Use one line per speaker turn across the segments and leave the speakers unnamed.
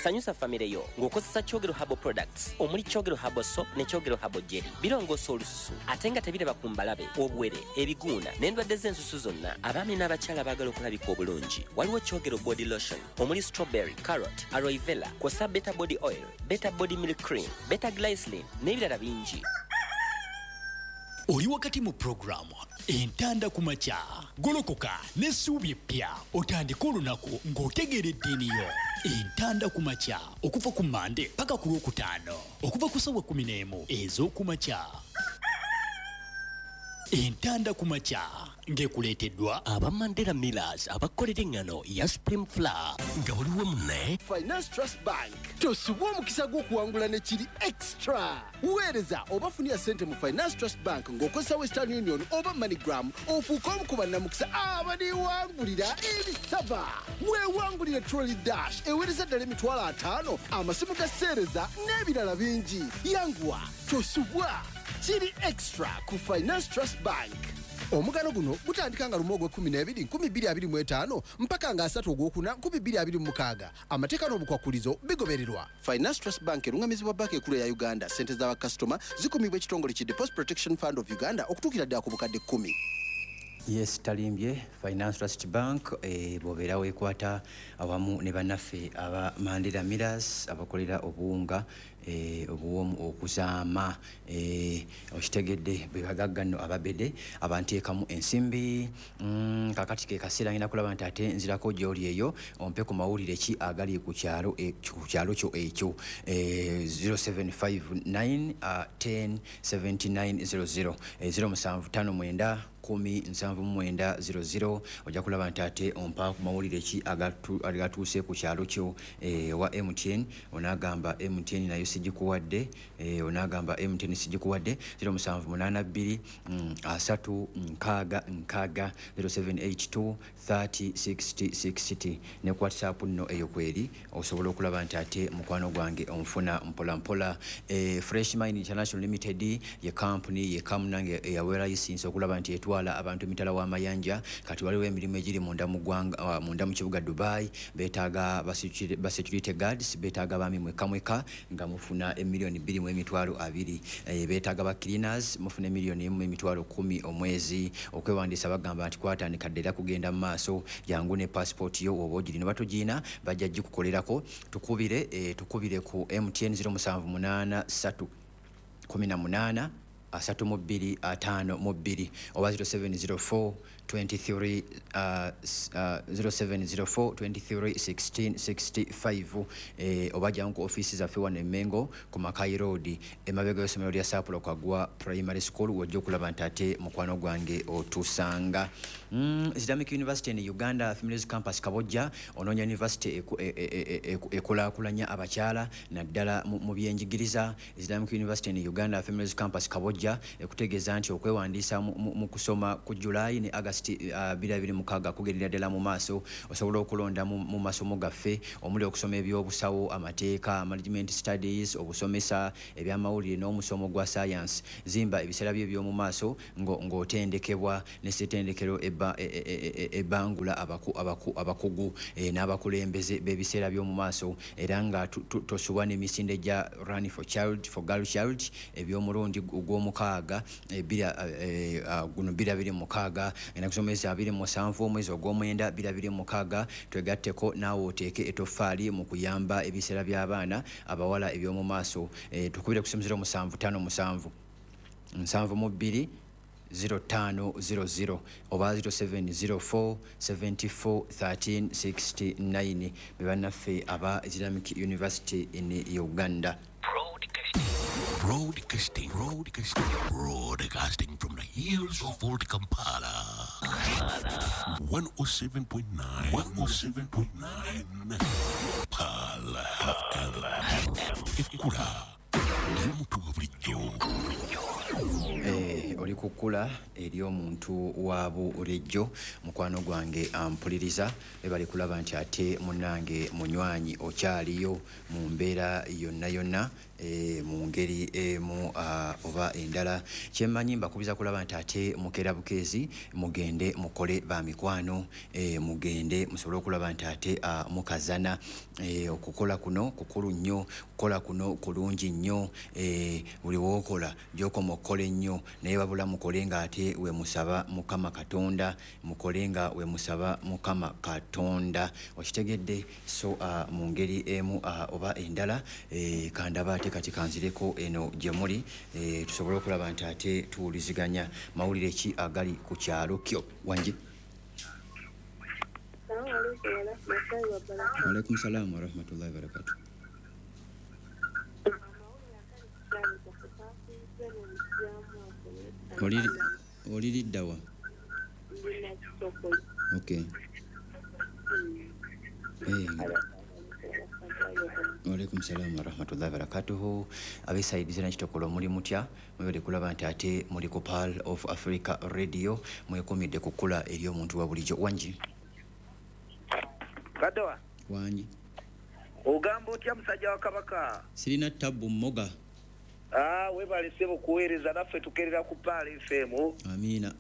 Sanyusa famire yo ng'okozesa Kyogero Herbal Products omuli Kyogero Herbal Soap ne Kyogero Herbal Jelly. Birongoosa olususu ate nga tebiraba ku mbalabe, obuwere, ebiguuna n'endwadde z'ensusu zonna. Abaami n'abakyala baagala okulabika obulungi, waliwo Kyogero Body Lotion omuli strawberry, carrot, aloe vera, kw'ossa Better Body Oil, Better Body Milk Cream, Better Glycerin n'ebirala bingi.
Oli wakati mu pulogulaamu Entanda ku Makya. Golokoka n'essuubi eppya otandike olunaku ng'otegeera eddiini yo. Entanda ku Makya okuva ku Mmande paka ku Lwokutaano okuva ku ssaawa 11 ez'oku makya. Entanda ku Makya ng'ekuleeteddwa
aba Mandela Millers abakolera eŋŋano ya Supreme Flour nga buli wamu ne
Finance Trust Bank. Tosubwa omukisa gw'okuwangula ne kiri extra. Weereza oba funira ssente mu Finance Trust Bank ng'okozesa Western Union oba MoneyGram ofuuke omu ku bannamukisa abaliwangulira ebisava. Weewangulire Trolley Dash eweereza ddala 50,000, amasimu ga seereza n'ebirala bingi. Yanguwa, tosubwa. Kiri extra ku Finance Trust Bank. Omugano guno gutandika nga 1 ogw'ekkumi n'ebiri 2025 mpaka nga 3 ogwokuna 2026. Amateeka n'obukwakkulizo bigobererwa. Finance Trust Bank erungamizibwa Banka Ekulu eya Uganda. Ssente z'abakasitoma zikumibwa ekitongole ki Deposit Protection Fund of Uganda okutuukira ddala ku bukadde 10.
Yes, talimbye. Finance Trust Bank, bw'obeera weekwata awamu ne bannaffe aba Mandela Millers abakolera obuwunga obuwoomu okuzaama, okitegedde, bwe bagagga nno ababede abanteekamu ensimbi. Kakati ke kaseera ngenda kulaba nti ate nzirako gy'oli eyo ompe ku mawulire ki agali ku kyalo, ku kyalo kyo ekyo. 0759 10 79 00, 0759 10 79 00. Ojja kulaba nti ate ompa ku mawulire ki agatuuse ku kyalo kyo. Owa MTN onaagamba MTN nayo sigikuwadde, onaagamba MTN sigikuwadde. 0782 30 60 60, 0782 30 60 60. Ne ku WhatsApp nno eyo kweri osobola okulaba nti ate mukwano gwange onfuna mpola mpola. Fresh Mind International Limited ye company ye kamunange eyaweera license okulaba nti etwala abantu emitala w'amayanja. Kati waliwo emirimu egiri munda mu ggwanga, munda mu kibuga Dubai. Beetaaga ba security guards, beetaaga baami mweka mweka nga mufuna 2,020,000. Beetaaga ba cleaners, mufuna 1,110,000 omwezi. Okwewandiisa bagamba nti kwatandika dda era kugenda mu maaso. Jangu ne passport yo oba ogirina oba togiina, bajja gikukolerako. Tukubire ku MTN 0783 18 32 52 oba 0704 23, 0704 23 16 65, oba jangu ku ofiisi zaffe wano e Mengo ku Makai Road emabega y'essomero lya Saapulo Kagwa Primary School, wojja okulaba nti ate mukwano gwange otusanga. Islamic University in Uganda Females Campus Kabojja, onoonya university ekulaakulanya abakyala naddala mu byenjigiriza. Islamic University in Uganda Females Campus Kabojja ekutegeeza nti okwewandiisa mu kusoma ku July ne August 2026 kugendera ddala mu maaso. Osobola okulonda mu masomo gaffe omuli okusoma ebyobusawo, amateeka, management studies, obusomesa, ebyamawulire n'omusomo gwa science. Zimba ebiseera byo eby'omu maaso ng'otendekebwa ne ssetendekero ebangula abakugu n'abakulembeze b'ebiseera by'omu maaso, era nga tosubwa n'emisinde gya Run for Child for Girl Child eby'omulundi gw'omukaaga, guno 2026, ennaku z'omwezi 27 omwezi ogw'omwenda 2026. Twegatteko naawe oteeke etoffaali mu kuyamba ebiseera by'abaana abawala eby'omu maaso. Tukubire ku simu 0757 72 0500 oba 0704 74 13 69. Be bannaffe aba Islamic University in Uganda.
Broadcasting, broadcasting, broadcasting from the hills of Old Kampala. 107.9, 107.9. Pala FM. Ekkula ly'omuntu wa bulijjo.
Oli kukula eri omuntu wa bulijjo, mukwano gwange ampuliriza, ebali kulaba nti ate munnange munywanyi okyaliyo mu mbeera yonna yonna, mu ngeri emu oba endala. Kyemmanyi mbakubiza kulaba nti ate mukeera bukeezi, mugende mukole ba mikwano, mugende musobole okulaba nti ate mukazana. Okukola kuno kukulu nnyo, kukola kuno kulungi nnyo, buli w'okola gy'okoma okukola ennyo, naye wabula mukole nga ate we musaba Mukama Katonda, mukole nga we musaba Mukama Katonda, okitegedde? So mu ngeri emu oba endala, kandaba ate kati kanzireko eno gye muli, tusobole okulaba nti ate tuwuliziganya mawulire ki agali ku kyalo kyo. Wangi. Waalaikum salaam warahmatullahi wabarakatuh. Oliriddawa? Okay. Waalaikum salaam warahmatullahi wabarakatuhu. Abesaidize nakitokolo muli mutya? Mwebale kulaba nti ate muli ku Pearl of Africa Radio, mwekumidde ku kkula eri omuntu wa bulijjo. Wangi.
Kadowa.
Wangi.
Ogamba otya musajja wa Kabaka?
Sirina tabbu mmoga.
Webale ssebo kuweereza naffe, tukerera ku Pearl FM.
Amiina.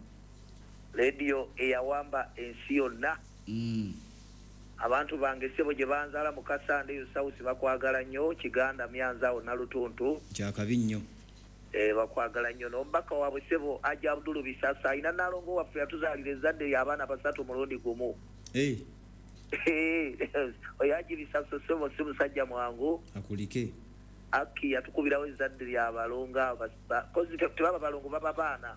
Radio eyawamba ensi yonna. Abantu bange ssebo gye banzaala mu Kasande eyo South bakwagala nnyo, Kiganda, Myanza awo Nalutuntu.
Kyakabi nnyo.
Bakwagala nnyo. N'omubaka waabwe ssebo Haji Abdul Bisasa alina Nnaalongo waffe yatuzaalira ezzadde ly'abaana basatu mulundi gumu. Oyo Haji Bisasa ssebo si musajja mwangu.
Akulike.
Aki yatukubirawo ezzadde ly'abalongo, kozi tebaba balongo baba baana.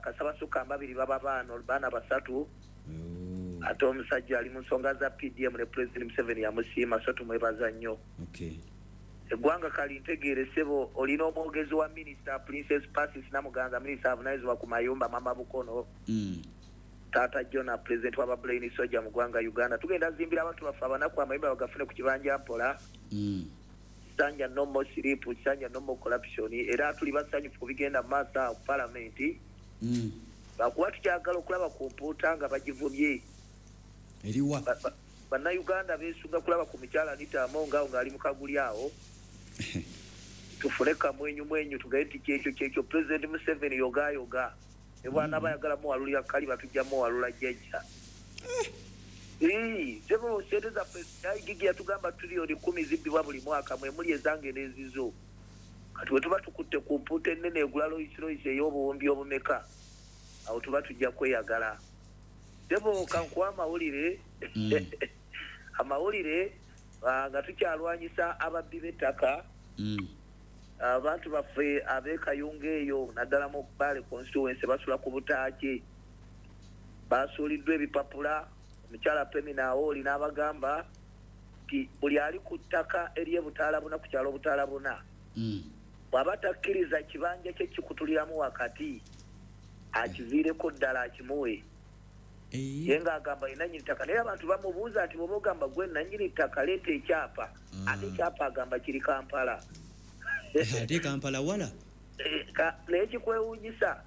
Kasabasukka mbabiri baba baana basatu. Ate omusajja ali mu nsonga za PDM ne President Museveni yamusiima, so tumwebaza nnyo. Eggwanga kali ntegeere ssebo, olina omwogezi wa minisita Princess Pacis Namuganza, minisita avunaanyizibwa ku mayumba Mama Bukono. Taata Jona, president w'aba Brain Soldier mu ggwanga Uganda. Tugenda zimbira abantu baffe abanaku amayumba bagafune ku kibanja mpola. Kisanja no more sleep, kisanja no more corruption. Era tuli basanyufu ku bigenda mu maaso awo ku palamenti. Bakuba tukyagala okulaba ku mpuuta nga bagivumye.
Eriwa?
Bannayuganda beesunga kulaba ku mukyala Anita Among awo ng'ali mu kaguli awo. Tufune kamwenyu mwenyu tugaye nti kyekyo kyekyo President Museveni yogayoga. Ne bw'anaaba ayagala muwalulira kali batujja muwalula jjajja. Sebo ssente zaffe Gigi yatugamba triliyoni 10 zibbibwa buli mwaka, mwe muli ezange n'ezizo. Kati bwe tuba tukutte ku mpuuta ennene egula Rolls Royce ey'obuwumbi obumeka, awo tuba tujja kweyagala. Sebo kankuwa amawulire. Amawulire nga tukyalwanyisa ababbi b'ettaka. Abantu baffe ab'e Kayunga eyo naddala mu Mbale constituency basula ku butaaki, basuuliddwa ebipapula. Omukyala Pemina Awooli n'abagamba nti buli ali ku ttaka ery'ebutaalabuna ku kyalo Butaalabuna, bw'aba takkiriza kibanja kye kikutuliramu wakati, akiviireko ddala akimuwe. Ye ng'agamba ye nannyini ttaka, naye abantu bamubuuza nti bw'oba ogamba gwe nannyini ttaka leeta ekyapa, ate ekyapa agamba kiri Kampala.
Ate Kampala wala?
Naye kikwewuunyisa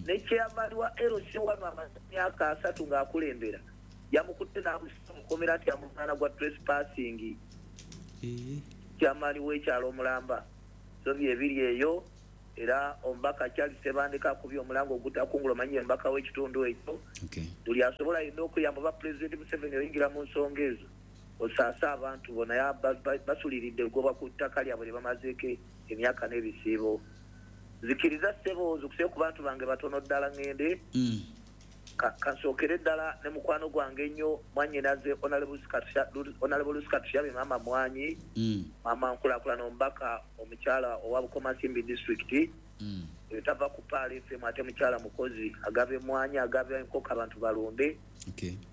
ne chairman wa LC wano amaze emyaka 3 ng'akulembera, yamukutte n'amussa mu kkomera nti amuvunaana gwa trespassing. Chairman w'ekyalo omulamba. So bye biri eyo, era omubaka Charles Ssebandeke akubye omulango ogutakungula, omanyi omubaka w'ekitundu ekyo. Buli asobola alina okuyamba oba President Museveni oyingira mu nsonga ezo, osaase abantu bo, naye basuliridde eggobwa ku ttaka lyabwe lye bamazeeko emyaka n'ebisiibo. Nzikiriza ssebo nzukuse ku bantu bange batono ddala ŋŋende. Kansookere ddala ne mukwano gwange ennyo mwannyinaze Honorable Lucy Katushabe maama Mwanyi, maama nkulaakulana omubaka omukyala owa Bukomansimbi district. Tava ku Pearl FM ate mukyala mukozi, agaba emmwanyi, agaba enkoko abantu balunde.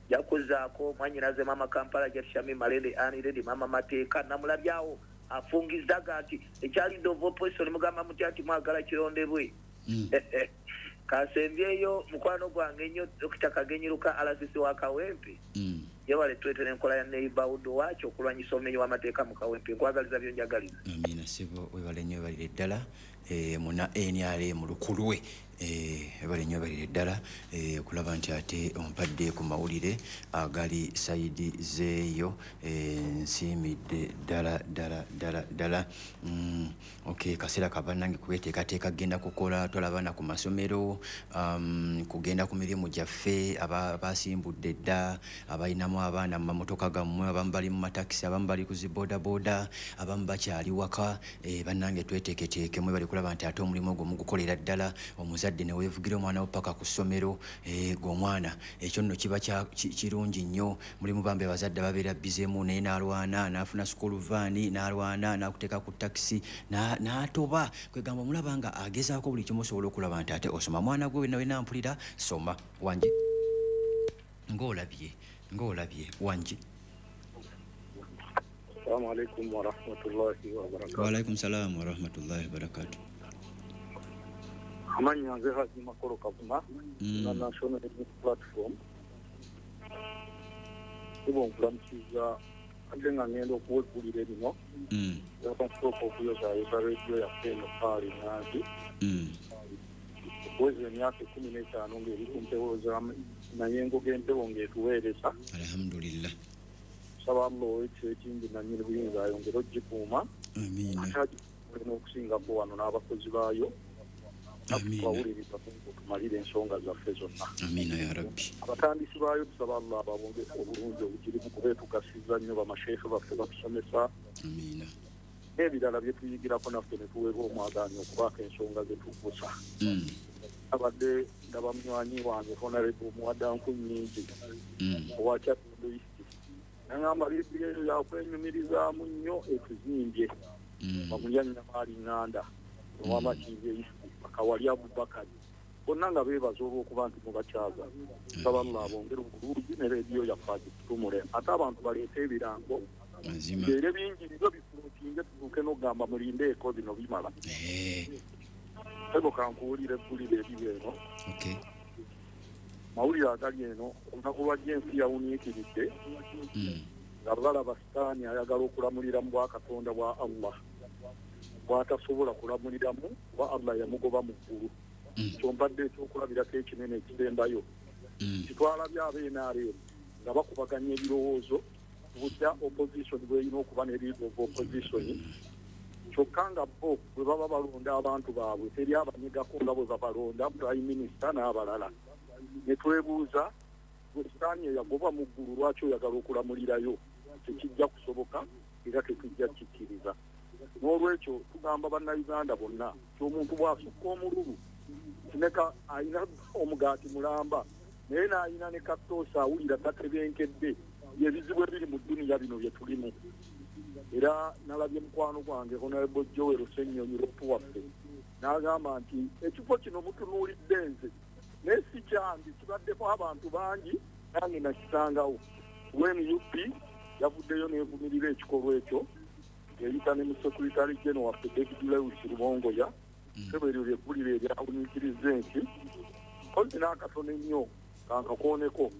Yakuzaako mwannyinaze maama Kampala Jatishami Malende Annie Lady maama Mateeka, namulabyawo afungizaga nti ekyalidde of opposition mugamba mutya nti mwagala kirondebwe. Kasembyeyo mukwano gwange ennyo Dr. Kagenyiruka RCC wa Kawempe. Yewale tuleetera enkola ya neighborhood watch okulwanyisa obumenyi w'amateeka mu Kawempe. Nkwagaliza byonjagaliza.
Amiina ssebo, webale nnyo, webalire ddala. Muna NRM lukulwe, webale nnyo, webalire ddala okulaba nti ate ompadde ku mawulire agali side zeeyo. Nsiimidde ddala ddala ddala ddala. Okay, kaseera kabannange kweteekateeka kugenda kukola, twala abaana ku masomero, kugenda ku mirimu gyaffe, abasimbudde dda, abalinamu abaana mu mamotoka gammwe, abamu bali mu matakisi, abamu bali ku ziboodabooda, abamu bakyali waka. Bannange tweteeketeeke, mwebale kulaba nti ate omulimu ogwo mugukolera ddala. Omuzadde ne weevugira omwana wo paka ku ssomero, gwe omwana ekyo nno kiba kirungi nnyo. Mulimu bambi abazadde babeera bizeemu, naye n'alwana n'afuna school van, n'alwana n'akuteeka ku takisi n'atoba. Kwegamba omulaba nga agezaako buli kimu osobola okulaba nti ate osoma. Mwana gwe wena wena mpulira, soma wangi ng'olabye ng'olabye wangi.
Assalamu alaikum warahmatullahi wabarakatuh.
Waalaikum salaamu warahmatullahi wabarakatu.
Amannya nze Haji Makolo Kavuma, na National Unity Platform. Kuba nkulamukiza ate nga ngenda okuwa eggulire lino. Yaba nsooka okuyozaayoza rediyo yaffe eno Paali Nanzi. Okuweza emyaka 15 ng'eri ku mpewo za mayengo g'empewo ng'etuweereza.
Alhamdulillah.
Nsaba Allah ow'ekisa ekingi nannyini buyinza ayongere ogikuuma.
Amiina.
Ate agikuume n'okusingako wano n'abakozi baayo.
Amiina.
Twawuliriza tumalire ensonga zaffe zonna.
Amiina ya rabbi.
Abatandisi baayo tusaba Allah ababonge obulungi obugirimu, kuba etugasiza nnyo, bamasheekhe baffe batusomesa
Amiina.
n'ebirala bye tuyigirako naffe ne tuweebwa omwagaanya okubaako ensonga ze tugusa. Abadde ndaba munywanyi wange Honorable Muwaddanku nnyingi owa Kyaddondo East, nagamba leediyo eyo yakwenyumirizaamu nnyo, etuzimbye. Bamulyannyama ali ŋŋanda owamakindye East, Bakawali Abubakari, bonna nga beebaza olw'okuba nti mubakyaza. Nsaba Allah abongere obulungi ne leediyo yaffe agitutumule, ate abantu baleete ebirango
Mazima.
era bingi byo bifulutinge tutuuke n'okugamba mulindeeko bino bimala. Ego kankuwulira eggulire eriri eno. Mawulire agali eno, olunaku lwajja ensi yawuniikiridde nga balaba Sitaani ayagala okulamulira mu bwakatonda bwa Allah bw'atasobola kulamuliramu, kuba Allah yamugoba mu ggulu. Kyompadde ekyokulabirako ekinene ekisembayo, kitwalabye ab'NRM nga bakubaganya ebirowoozo butya opposition bw'erina okuba ne leader of opposition, kyokka nga bo bwe baba balonda abantu baabwe teri abanyigako nga bwe babalonda prime minister n'abalala. Ne twebuuza, gwe Sitaani eyagobwa mu ggulu, lwaki oyagala okulamulirayo? Tekijja kusoboka era tetujja kikkiriza. N'olwekyo tugamba Bannayuganda bonna ti omuntu bw'asukka omululu kineka alina omugaati mulamba naye n'alina ne katoosa awulira tatebenkedde. Byebizibu ebiri mu dduniya bino bye tulimu. Era nalabye mukwano gwange Honorable Joel Ssenyonyi Ropu waffe n'agamba nti ekifo kino mutunuulidde nze, naye si kyange, kibaddeko abantu bangi, nange nakisangawo. NUP yavuddeyo n'evumirira ekikolwa ekyo, eyita ne mu secretary general waffe David Lewis Rubongoya. Sebo, eryo lyeggulire eryawuniikiriza ensi. Kozi n'akatono ennyo kankakooneko,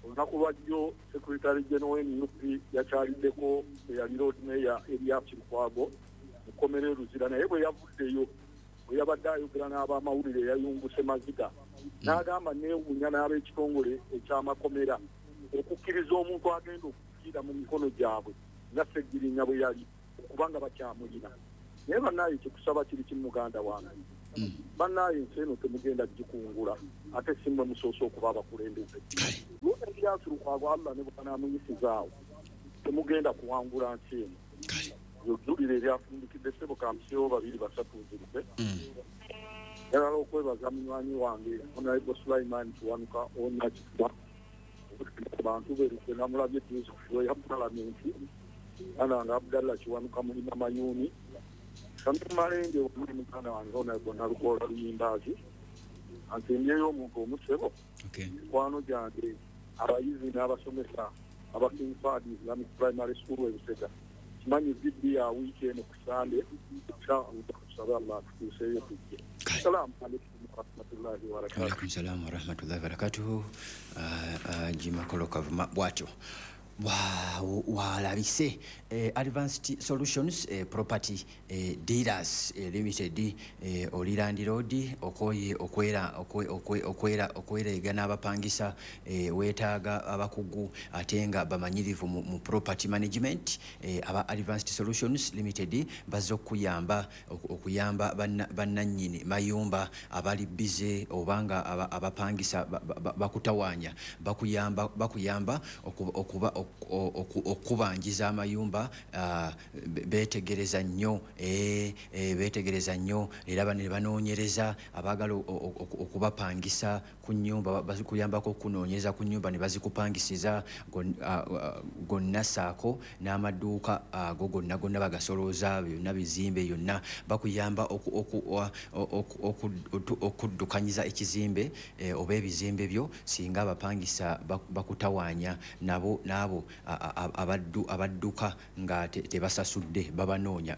olunaku lwajjo secretary general wa NUP yakyaliddeko eyali Lord Mayor Erias Lukwago mukomera e Luzira, naye bwe yavuddeyo, bwe yabadde ayogera n'abamawulire, yayunguse maziga n'agamba, neewuunya n'ab'ekitongole ekyamakomera okukkiriza omuntu agenda okufiira mu mikono gyabwe nga Ssegirinya bwe yali okubanga bakyamulina. Naye bannaaye, kyekusaba kiri kimu, muganda wange, bannaaye, ensi eno temugenda gikungula, ate si mmwe musoose okuba abakulembeze. Erias Lukwago Allah ne bwanaamuyisizaawo, temugenda kuwangula nsi eno. Eggulire eryafundikidde, ssebo, kampiseewo babiri basatu nziruke. Njagala okwebaza munywanyi wange Honorable Sulaiman Kiwanuka Onakitwa ku bantu berukwe, namulabye juzi ku floor ya palamenti ana nga Abdallah Kiwanuka mulima mayuuni Shamim Malende omuli muganda wange Honorable Nalukoola Luyimbaazi. Ansembyeyo omuntu omusebo, mikwano gyange abayizi n'abasomesa aba King Fahd Islamic Primary School e Busega, kimanyi vidi ya wiiki eno ku Sande, inshallah tusabe Allah atutuuseeyo tujje. Salaamu alaikum. Warahmatullahi wabarakatuh.
Alaikum salam warahmatullahi wabarakatuh. Jimakolo Kavuma bwatyo walabise. Advanced Solutions Property Dealers Limited, oli landlord okoye okwera okwera okwerega n'abapangisa, weetaaga abakugu ate nga bamanyirivu mu property management. Aba Advanced Solutions Limited bazze okuyamba okuyamba bannannyini mayumba abali bize obanga abapangisa bakutawaanya, bakuyamba okuba okubanjiza amayumba. Beetegereza nnyo, beetegereza nnyo era ne banoonyereza abaagala okubapangisa ku nnyumba, bazikuyambako okunoonyeza ku nnyumba ne bazikupangisiza gonna saako n'amaduuka ago gonna gonna bagasolooza byonna bizimbe yonna. Bakuyamba okuddukanyiza ekizimbe oba ebizimbe byo singa abapangisa bakutawaanya, nabo n'abo abadduka nga tebasasudde babanoonya.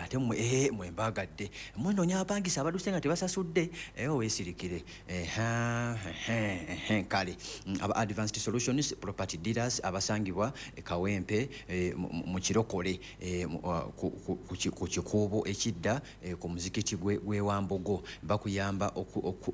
Ate mwe mbagadde mwenoonya abapangisa abadduse nga tebasasudde, weesirikire. Kale aba Advanced Solutions Property Dealers abasangibwa Kawempe mu Kirokole, ku kikuubo ekidda ku muzikiti gw'e Wambogo, bakuyamba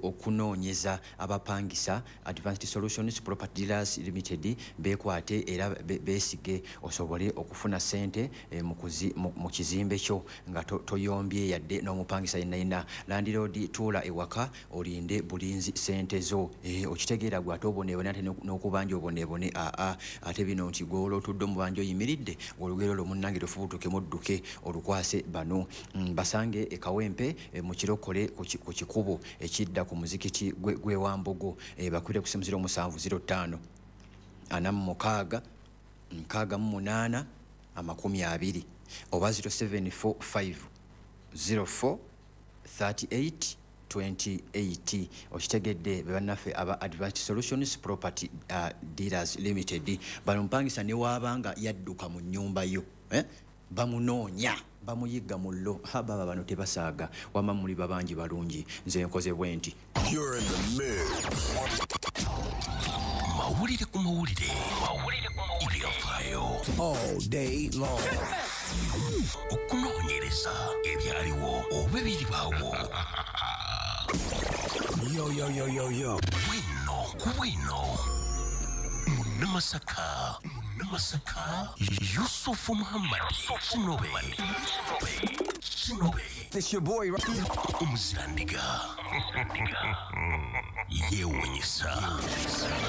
okunoonyeza abapangisa. Advanced Solutions Property Dealers Limited beekwate era beesige osobole okufuna ssente mu kizimbe kyo nga toyombye yadde n'omupangisa yenna yenna. Landlord, tuula ewaka olinde bulinzi ssente zo. Okitegeera gwe ate oboneebone ate n'okubanja oboneebone aa ate bino nti gw'olwo otudde omubanja oyimiridde olugero olwo munnange lufubutuke mudduke olukwase bano. Basange e Kawempe mu Kirokole ku kikubo ekidda ku muzikiti gw'e Wambogo. Bakwire ku simu 0705 46 68 20 oba 0745 04 38 28. Okitegedde, be bannaffe aba Advanced Solutions Property Dealers Limited. Bano mpangisa ne waabanga yadduka mu nnyumba yo, eh? Bamunoonya, bamuyigga mullo. Ha, baba bano tebasaaga. Wamma muli babangi balungi, nze nkoze bwe nti.
You're in the mix.
Mawulire ku mawulire, ebyafaayo
all day long.
Okunoonyereza ebyaliwo oba ebiribaawo.
Yo, yo, yo, yo, yo.
Bwino ku bwino, Munnamasaka, Munnamasaka Yusufu Muhammadi Kinobe, Kinobe.
It's your boy.
Omuzirandiga yeewunyisa.